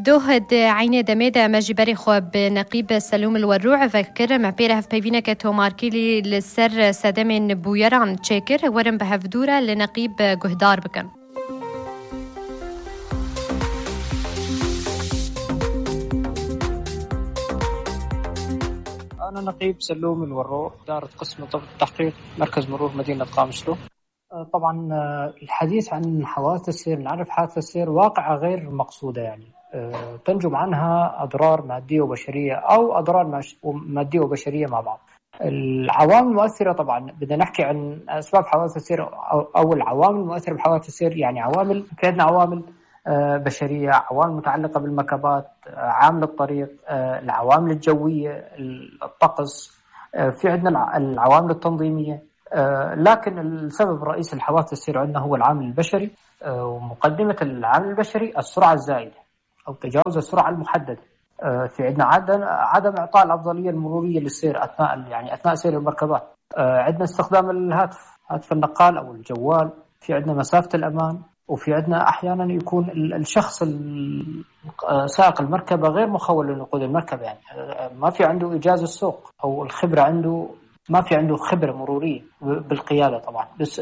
دوهد عيني دميدة مجبري خو بنقيب سلوم الوروع فكر معبيرة هف بيفينا كتو ماركيلي للسر سدمين بويران تشاكر ورم بهف دورة لنقيب جهدار بكن. أنا نقيب سلوم الوروع إدارة قسم ضبط التحقيق مركز مرور مدينة قامشلو. طبعا الحديث عن حوادث السير، نعرف حادثة السير واقعة غير مقصودة، يعني تنجم عنها أضرار مادية وبشرية أو أضرار مادية وبشرية مع بعض. العوامل المؤثرة، طبعا بدنا نحكي عن أسباب حوادث السير أو العوامل المؤثرة بحوادث السير. يعني عوامل، في عندنا عوامل بشرية، عوامل متعلقة بالمكبات، عامل الطريق، العوامل الجوية، الطقس، في عندنا العوامل التنظيمية. لكن السبب الرئيسي لحوادث السير عندنا هو العامل البشري، ومقدمة العامل البشري السرعة الزائدة أو تجاوز السرعة المحددة. في عندنا عدم إعطاء الأفضلية المرورية للسير أثناء سير المركبات. عندنا استخدام هاتف النقال أو الجوال. في عندنا مسافة الأمان، وفي عندنا أحيانا يكون الشخص سائق المركبة غير مخول لنقود المركبة، يعني ما في عنده إجازة السوق أو الخبرة عنده، ما في عنده خبرة مرورية بالقيادة طبعا، بس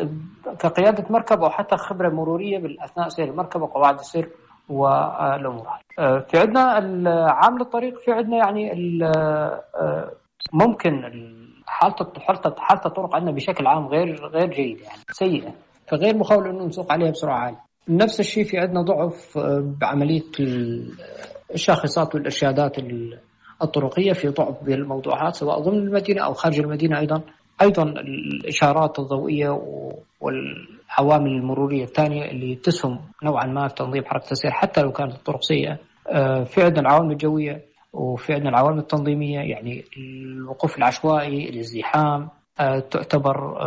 كقيادة مركبة أو حتى خبرة مرورية أثناء سير المركبة، قواعد السير والأمور. في عندنا عامل الطريق، في عندنا يعني ممكن حالة الطرق عندنا بشكل عام غير جيدة، يعني سيئة، فغير مخول إنه نسوق عليها بسرعة عالية. نفس الشيء في عندنا ضعف بعملية الشاخصات والإرشادات الطرقية، في ضعف بالموضوعات سواء ضمن المدينة أو خارج المدينة. أيضا الإشارات الضوئية والعوامل المرورية الثانية اللي تسهم نوعا ما في تنظيم حركة السير حتى لو كانت الطرق سيئة. في عندنا العوامل الجوية، وفي عندنا العوامل التنظيمية، يعني الوقوف العشوائي، الازدحام، تعتبر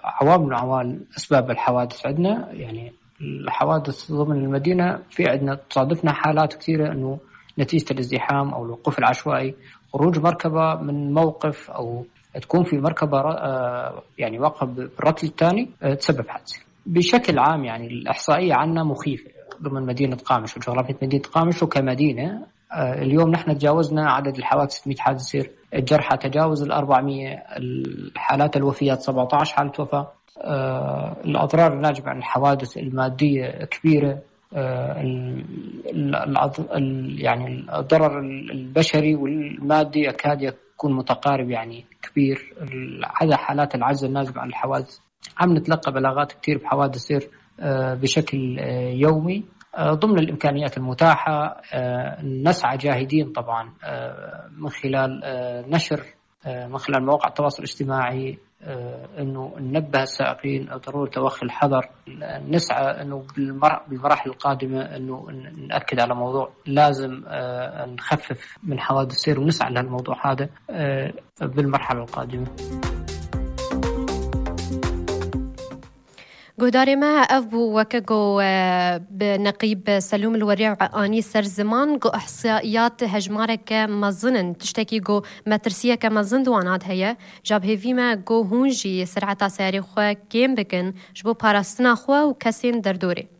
عوامل من عوامل أسباب الحوادث عندنا. يعني الحوادث ضمن المدينة في عندنا تصادفنا حالات كثيرة أنه نتيجة الازدحام أو الوقوف العشوائي، خروج مركبة من موقف أو تكون في مركبة يعني واقفة بالركن الثاني تسبب حادثة. بشكل عام يعني الإحصائية عنا مخيفة ضمن مدينة قامش وجغرافية مدينة قامش وكمدينة. اليوم نحن تجاوزنا عدد الحوادث 600 حادث سير، الجرحى تجاوز 400، الحالات الوفيات 17 حالة وفاة. الأضرار الناجمة عن الحوادث المادية كبيرة، يعني الضرر البشري والمادي يكاد يكون متقارب، يعني كبير. هذا حالات العجز الناجمة عن الحوادث. عم نتلقى بلاغات كتير بحوادث سير بشكل يومي. ضمن الإمكانيات المتاحة نسعى جاهدين طبعا من خلال نشر من خلال مواقع التواصل الاجتماعي انه ننبه السائقين ضرورة توخي الحذر. نسعى انه بالمراحل القادمة انه نأكد على موضوع لازم نخفف من حوادث السير، ونسعى لهالموضوع هذا بالمرحلة القادمة. جوداري ما أبو وكجو بنقيب سلوم الوريع آني سر زمان جو إحصائيات هجمارك مظنن تشتكي جو مترسية كمظن دوانات هي جاب هفيما جو هونجي سرعة ساري خوا كيم بكن جبو باراستنا خوا وكسين دردوري.